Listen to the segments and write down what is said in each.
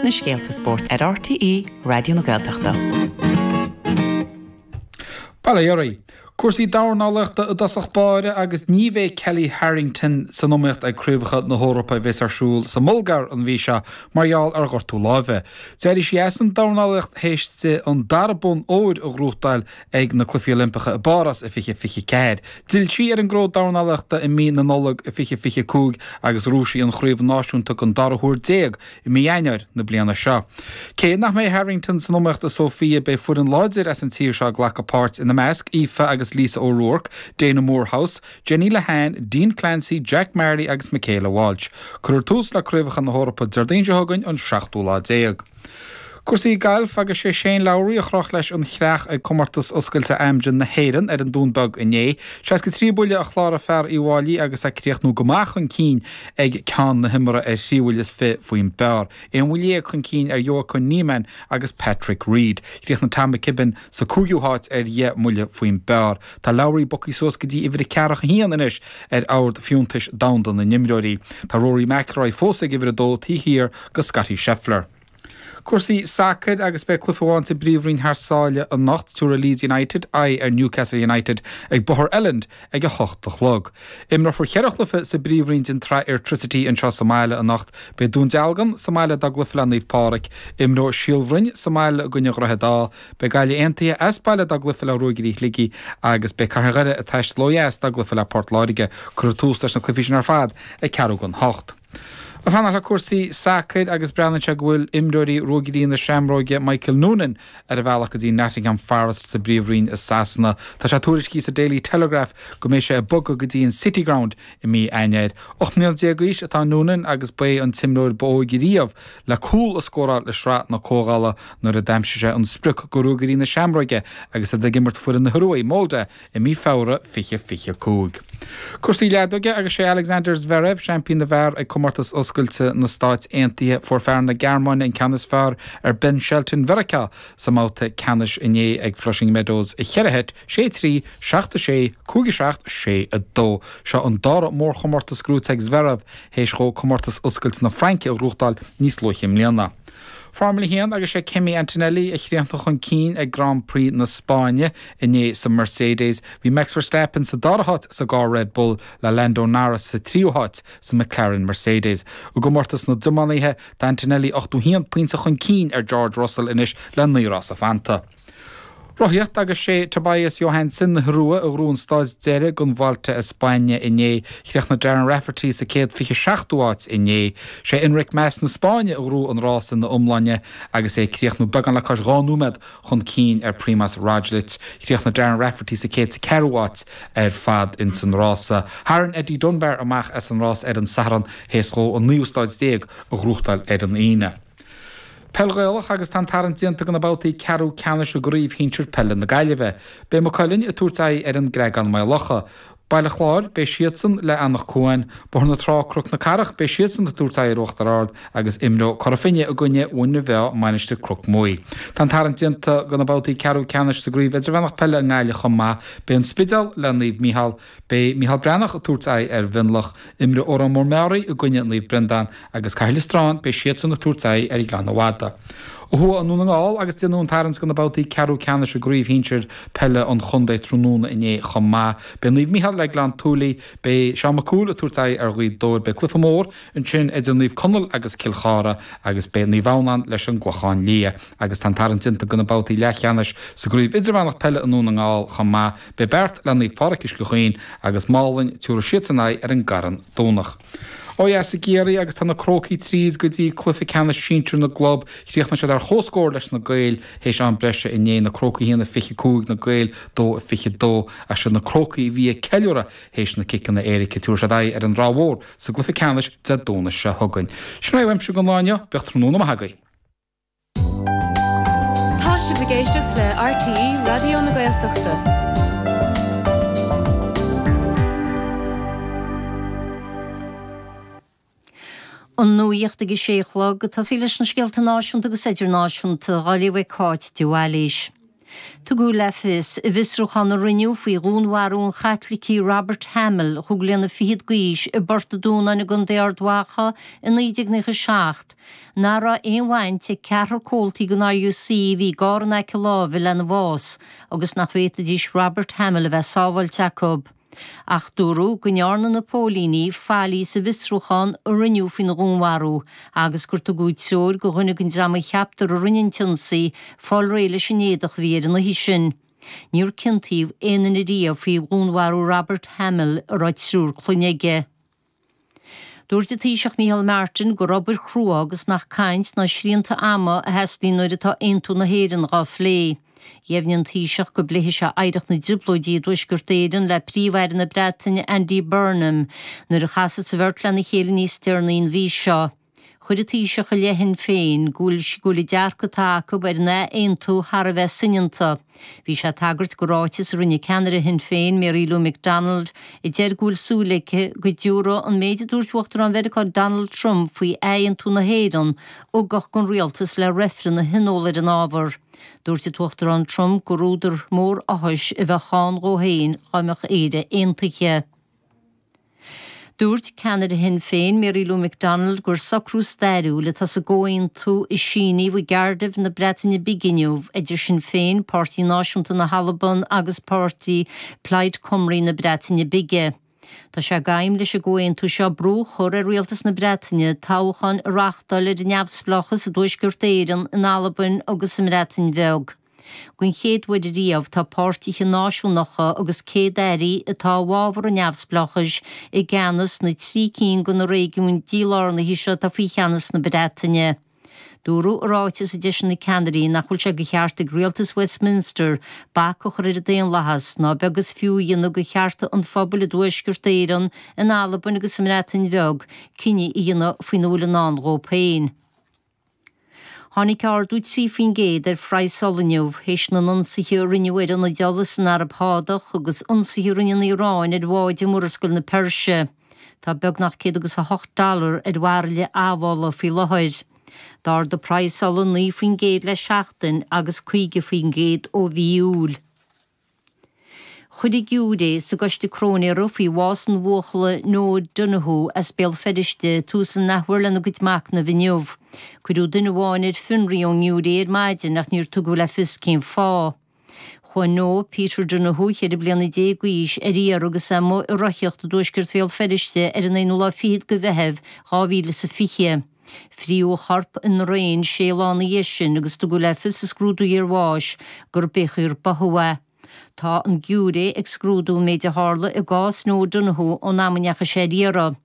Na scéalta spóirt ar RTÉ Raidió na Gaeltachta. Bail ó Dhia oraibh. Cúrsaí dornálaíochta i dtosach báire agus ní bheidh Kellie Harrington san iomaíocht ag Craobhacha na hEorpa a bheas ar siúl sa mBulgáir an mhí seo mar gheall ar ghortú láimhe. D'éirigh sí as an dornálaíocht théis di an dara bonn óir a ghnóthachtáil ag na Cluichí Oilimpeacha i bPáras i 2024. D'fhill sí ar an gcró dornálaíochta i mí na Nollag i 2025 agus ghnóthaigh sí an chraobh náisiúnta den dara huair déag i mí Eanáir na bliana seo. Cé nach mbeidh Harrington san iomaíocht i Sofia, beidh foireann láidir as an tír seo ag glacadh páirt, ina measc, Aoife agus Lisa O'Rourke, Dana Moorhouse, Jenny Lehane, Dean Clancy, Jack Marley agus Michaela Walsh. Cuirfear tús le Craobhacha na hEorpa Déardaoin seo chugainn, an seachtú lá déag. Cúrsaí gailf agus sé Shane Lowry a chroch leis an chreach ag Comórtas Oscailte Amgen na hÉireann ar an Dún Beag inné. 63 buille a chláraigh fear Uíbh Fhailí agus é ag críochnú go maith chun cinn ag ceann na himeartha ar thrí bhuille is fi faoin bpar. Aon bhuille dhéag chun cinn ar Joaquin Niemann agus Patrick Reed. Chríochnaigh Tom McKibbin sa cúigiú háit ar dheich mbuille faoin bpar. Tá Lowry bogtha suas go dtí uimhir a ceathracha haon anois ar ord fiúntais domhanda na n-imreoirí. Tá Rory McIlroy fós ag uimhir a dó taobh thiar de Scottie Scheffler. Cúrsaí sacair agus beidh cluiche amháin sa bPríomhroinn thar sáile anocht. Tabharfaidh Leeds United aghaidh ar Newcastle United ag Bóthar Elland ag 8 a chlog. Imreofar cheithre chluiche sa bPríomhroinn den tSraith Airtricity anseo sa mbaile anocht. Beidh Dún Dealgan sa mbaile dá gcluiche le Naomh Pádraig. Imreoidh Síol Bhroin sa mbaile i gcoinne Dhroichead Átha. Beidh Gaillimh Aontaithe as baile dá gcluiche le Ruagairí Shligigh agus beidh Cathair Dhoire ag taisteal ó dheas dá gcluiche le Port Láirge. Cuirfear tús leis na cluichí sin ar fad ag ceathrú don hocht. Ag fanacht le cúrsaí sacair agus breathnaíonn sé go bhfuil imreoirí Ruagairí na Seamróige Michael Noonan ar a bhealach go dtí Nottingham Forest sa bPríomhroinn i Sasana. Tá sé tuairiscithe sa Daily Telegraph go mbeidh sé ag bogadh go dtí an City Ground i mí Eanáir. 18 mbliana d'aois atá Noonan agus ba é an t-imreoir ba óige riamh le cúl a scóráil i Sraith na Comhdhála nuair a d'aimsigh sé an sprioc do Ruagairí na Seamróige agus iad ag imirt foireann na hIorua, Molde, i mí Feabhra 2025. Cúrsaí leadóige agus sé Alexander Zverev seaimpín na bhfear ag Comórtas Oscailte na Stáit Aontaithe. Fuair fear na Gearmáine an ceann is fearr ar Ben Shelton Mheiriceá sa mbabhta ceannais inné ag Flushing Meadows i cheithre sheit, 6-3, 7-6, 5-7, 6-2. Seo an dara mórchomórtas gnóite ag Zverev théis dhó Comórtas Oscailte na Fraince a ghnóthachtáil níos luaithe i mbliana. Formula 1 agus sé Kimi Antonelli a chríochnaigh chun cinn ag Grand Prix na Spáinne inné sa Mercedes. Bhí Max Verstappen sa dara háit sa gcarr Red Bull le Lando Norris sa tríú háit sa McLaren Mercedes. I gcomórtas na dtiománaithe, tá Antonelli 81 pointe chun cinn ar George Russell anois le naoi rása fanta. Rothaíocht agus sé Tobias Johansson na hIorua a ghnóthaigh an stáid deiridh don Vuelta a España inné. Chríochnaigh Darren Rafferty sa 127ú áit inné. Sé Enric Mas na Spáinne a ghnóthaigh an rás ina iomláine agus é ag críochnú beagán le cois 2 nóiméad chun cinn ar Primoz Roglic. Chríochnaigh Darren Rafferty sa 104ú áit ar fad ins an rása. Tharraing Eddie Dunbar amach as an rás ar an Satharn théis dhó an naoú stáid déag a ghnóthachtáil ar an Aoine. Peil Ghaelach agus tá an tarraingt déanta do na babhtaí ceathrú ceannais i gCraobh Shinsir Peile na Gaillimhe. Beidh Maigh Cuilinn ag tabhairt aghaidh ar an gCreagán Maigh Locha. Baile Chláir, beidh siadsan le Anach Cuain. Bóthar na Trá Cnoc na Cathrach, beidh siadsan ag tabhairt aghaidh ar Uachtar Ard agus imreoidh Cora Finne i gcoinne Mhuine Mheá Mainistir Cnoc Muaidh. Tá an tarraingt déanta do na babhtaí ceathrú ceannais sa gCraobh Idirmheánach Peile i nGaillimh chomh maith. Beidh An Spidéal le Naomh Mícheál. Beidh Micheál Breathnach ag tabhairt aghaidh ar Mhionlach. Imreoidh Órán Mór Meáraí i gcoinne Naomh Breandán agus Cathair Loistreáin, beidh siadsan ag tabhairt aghaidh ar Ghleann Fhada. Ó thuaidh i nDún na nGall agus déanadh an tarraingt do na babhtaí ceathrú ceannais i gcraobh shinsir peile an chontae tráthnóna inné chomh maith. Beidh Naomh Micheál le Gleann tSúilí, beidh Seán Mac Cumhaill ag tabhairt aghaidh ar Ghaoth Dobhair, beidh cluiche mór ansin idir Naomh Conaill agus Cill Chartha agus beidh Naomh Adhamhnáin leis an gClochán Liath. Agus tá an tarraingt déanta do na babhtaí leathcheannais sa gcraobh idirmheánach peile i nDún na nGall chomh maith. Beidh Beart le Naomh Pádraig Uisce Chaoin agus Málainn, tabharfaidh siadsan aghaidh ar an gCarn Domhnach. Ó dheas i gCiarraí agus tá na Crócaigh tríd go dtí cluiche ceannais sinsir na gclub. Chríochnaigh siad ar chomhscór leis na Gaeil théis am breise inné, na Crócaigh 1-25, na Gaeil 2-22. Ach siad na Crócaigh a bhí ag ceiliúradh théis na ciceanna éirice. Tabharfaidh siad aghaidh ar an Ráth Mhór sa gcluiche ceannais Dé Domhnaigh seo chugainn. Sin é uaimse don lá inniu, bíodh tráthnóna maith agaibh. Tá sibh ag éisteacht le RTÉ Raidió na Gaeltachta. An nuacht ag a sé a chlog, ag tosaí leis na scéalta náisiúnta agus idirnáisiúnta, á léamh ag Cáit de Bhailís. Tugadh le fios i bhfiosrúchán a rinneadh faoi dhúnmharú an Chaitlicigh Robert Hamill, chúig bliana fichead d'aois, i bPort an Dúnáin i gContae Ard Mhacha i 1997, nach raibh aon bhaint ag ceathrar comhaltaí den RUC a bhí i gcarr in aice láimhe lena bhás agus nach bhféadfaidís Robert Hamill a bheith sábháilte acu. Ach dúradh go ndearna na póilíní faillí sa bhfiosrúchán a rinneadh faoina dhúnmharú agus gur tugadh treoir do dhuine den dream a cheaptar a rinne an t-ionsaí fáil réidh leis an éadach a bhí air an oíche sin. Níor ciontaíodh aon duine riamh faoi dhúnmharú Robert Hamill a raibh triúr clainne aige. Dúirt an Taoiseach Micheál Martin gur obair chrua agus nach caint ná srianta ama a theastaíonn nuair atá aontú na hÉireann dhá phlé. Dheimhnigh an Taoiseach go bpléifidh sé oidhreacht na dTrioblóidí i dTuaisceart Éireann le Príomh-Aire na Breataine Andy Burnham nuair a chasfas an bheirt lena chéile níos deireanaí an mhí seo. Chuir an Taoiseach i leith Shinn Féin go bhfuil go bhfuil an dearcadh atá acu ar an ath-aontú thar a bheith soineanta. Bhí sé ag tagairt do ráiteas a rinne ceannaire Shinn Féin, Mary Lou McDonald, a deir go bhfuil súil aici go dtabharfaidh an méid a dúirt Uachtarán Mheiriceá Donald Trump faoi ath-aontú na hÉireann ugach don rialtas le reifreann a thionól ar an ábhar. Dúirt an tUachtarán Trump gur údar mór áthais a bheadh ann dhó féin dá mbeadh Éire aontaithe. Dúirt ceannaire Shinn Féin, Mary Lou McDonald, gur socrú stairiúil atá sa gcomhaontú a síníodh i gCardiff na Breataine Bige inniu idir Sinn Féin, Páirtí Náisiúnta na hAlban agus páirtí Plaid Cymru na Breataine Bige. Tá sé d'aidhm leis an gcomhaontú seo brú a chur ar rialtas na Breataine toghcháin a reáchtáil ar an neamhspleáchas i dTuaisceart Éireann, in Albain agus sa mBreatain Bheag. Den chéad uair riamh tá páirtithe náisiúnacha agus céad-airí atá i bhfabhar an neamhspleáchais i gceannas na dtrí cinn de na réigiúin dílárnaithe seo atá faoi cheannas na Breataine. Dúradh i ráiteas a d'eisigh na ceannairí nach bhfuil sé de cheart ag rialtas Westminster bac a chur ar an daonlathas, ná beag is fiú a dhéanamh de chearta an phobail i dTuaisceart Éireann, in Albain agus sa mBreatain Bheag cinneadh a dhéanamh faoina bhfuil i ndán dhóibh féin. Tháinig ardú 3% ar phraghas ola inniu, théis na n-ionsaithe a rinneadh ar ionaid ola san Araib Shádach agus ionsaithe a rinne an Iaráin ar bháid i Murascaill na Peirse. Tá beagnach 108 dollar ar bhairille admhála faoi láthair. D'ardaigh praghas ola 9% le seachtain agus 50% ó mhí Iúil. Chuir an giúiré sa gcoiste cróinéara faoi bhás an bhuachalla Noah Donohoe as Béal Feirste tús an athuair lena gcuid machnaimh inniu. Cuireadh duine amháin ar fionraí ón ngiúiré ar maidin ach níor tugadh le fios cén fáth. Chuaigh Noah Peter Donohoe, 14 bliana d'aois, ar iarraidh agus é amuigh ag rothaíocht i dtuaisceart Bhéal Feirste ar an aonú lá fichead de Mheitheamh 2020. Fríodh a chorp i ndraein sé lá ina dhiaidh sin agus tugadh le fios sa scrúdú iarbháis gur b'shocair báthadh é. Tá an giúiré ag scrúdú an méid a tharla i gcás Noah Donohoe ón am a ndeachaigh sé ar iarraidh.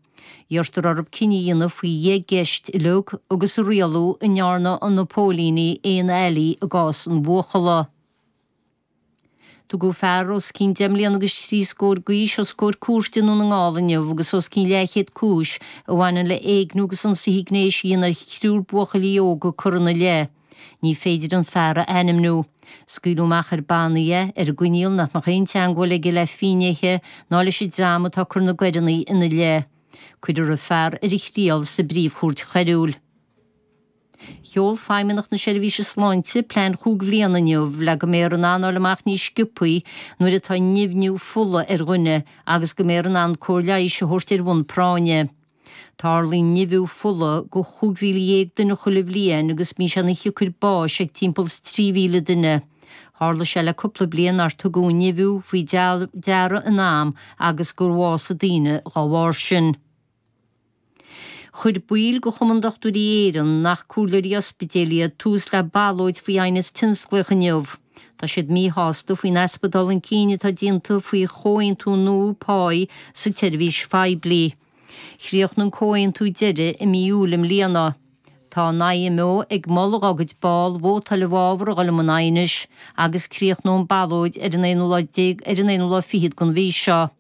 Iarrtar orthu cinneadh a dhéanamh faoi dheich gceist uilig agus a rialú an ndearna na póilíní aon fhaillí i gcás an bhuachalla. Tugadh fear os cionn deich mbliana agus thrí scór d'aois os comhair cúirte i nDún na nGall inniu agus os cionn leathchéad cúis a bhaineann le éigniú agus ionsaithe gnéis a dhéanamh ar thriúr buachaillí óga curtha ina leith. Ní féidir an fear a ainmniú. Scaoileadh amach ar bannaí é, ar an gcoinníoll nach mbeadh aon teangmháil aige le finnéithe ná leis an dream atá ag cur na gcoireanna ina leith. Cuirfear an fear ar a thriail sa bPríomh-Chúirt Choiriúil. Sheol Feidhmeannacht na Seirbhíse Sláinte plean chúig bhliana inniu le go mbeifear in ann fháil amach níos sciobthaí nuair atá nimhniú fola ar dhuine agus go mbeifear in ann cóir leighis a thabhairt ar bhonn práinne. Tarlaíonn nimhiú fola do 15,000 duine chuile bhliain agus bíonn sé ina shiocair báis ag timpeall is 3,000 duine. Tharla sé le cúpla bliain nár tugadh an nimhiú faoi deara in am agus gur bhásaigh daoine dá bharr sin. Chuir baill de Chumann Dochtúirí Éireann, nach comhairleoirí ospidéil iad, tús le ballóid faoi aighneas tionsclaíoch inniu. Tá siad míshásta faoin easpa dul chun cinn atá déanta faoi chomhaontú nua páí sa tseirbhís phoiblí. Chríochnaigh an comhaontú deiridh i mí Iúil i mbliana. Tá an IMO ag moladh dá gcuid ball vótáil i bhfabhar a dhul i mbun aighnis agus críochnóidh an ballóid ar an aonú lá déag ar an aonú lá fichead den mhí seo.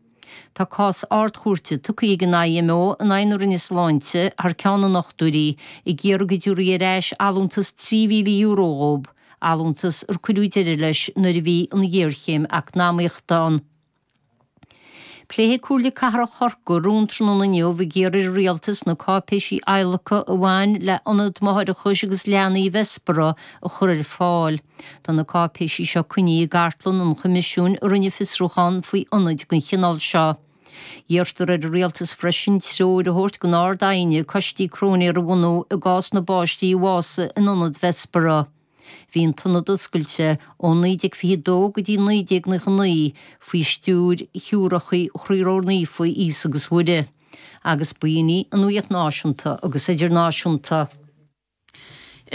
Tá cás Ard-Chúirte tugtha ag an IMO in aghaidh na Roinne Sláinte thar ceann na ndochtúirí, ag iarraidh go dtabharfaí ar ais allúntas €3,000 dhóibh, allúntas ar cuireadh deireadh leis nuair a bhí an ghéarchéim eacnamaíochta ann. Pléifidh Comhairle Cathrach Chorcaí rún tráthnóna inniu ag iarraidh ar an Rialtas na cáipéisí adhlactha a bhain le Ionad Máithreachais agus Leanaí Bhessborough a chur ar fáil. Tá na cáipéisí seo coinnithe i gcartlann an Choimisiúin a rinne fiosrúchán faoi ionaid den chineál seo. Iarrtar ar an Rialtas freisin treoir a thabhairt don Ard-Aighne coistí cróinéara a bhunú i gcás na bpáistí a bhásaigh in ionad Bhessborough. Bhí an t-ionad oscailte ó 1922 go dtí 1999 faoi stiúir Shiúracha Chroí Ró-Naofa Íosa agus Mhuire, agus b'in í an nuacht náisiúnta agus idirnáisiúnta.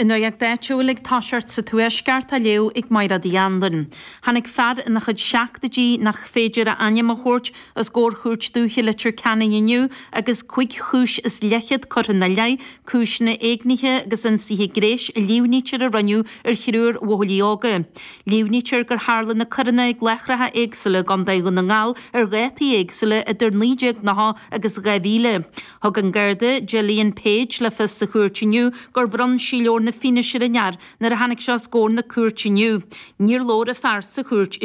An nuacht áitiúil ag toiseacht sa Tuaisceart á léamh ag Mairéad Uí Anluain. Tháinig fear ina chuid seachtóidí nach féidir a ainm a thabhairt os comhair Chúirt Dúiche Leitir Ceanainn inniu agus cuig chúis is leithchead curtha ina leith, cúiseanna éignithe agus ionsaithe gnéis a líomhnaítear a rinneadh ar thriúr bhuachaillí óga. Líomhnaítear gur tharla na coireanna ag láithreacha éagsúla i gContae Dhún na nGall ar dhátaí éagsúla idir 1990 agus 2000. Thug an Garda Gillian Page le fios sa chúirt inniu gur bhronn sí leabhar na fianaise ar an fhear nuair a tháinig sé os comhair na cúirte inniu. Níor labhair an fear sa chúirt.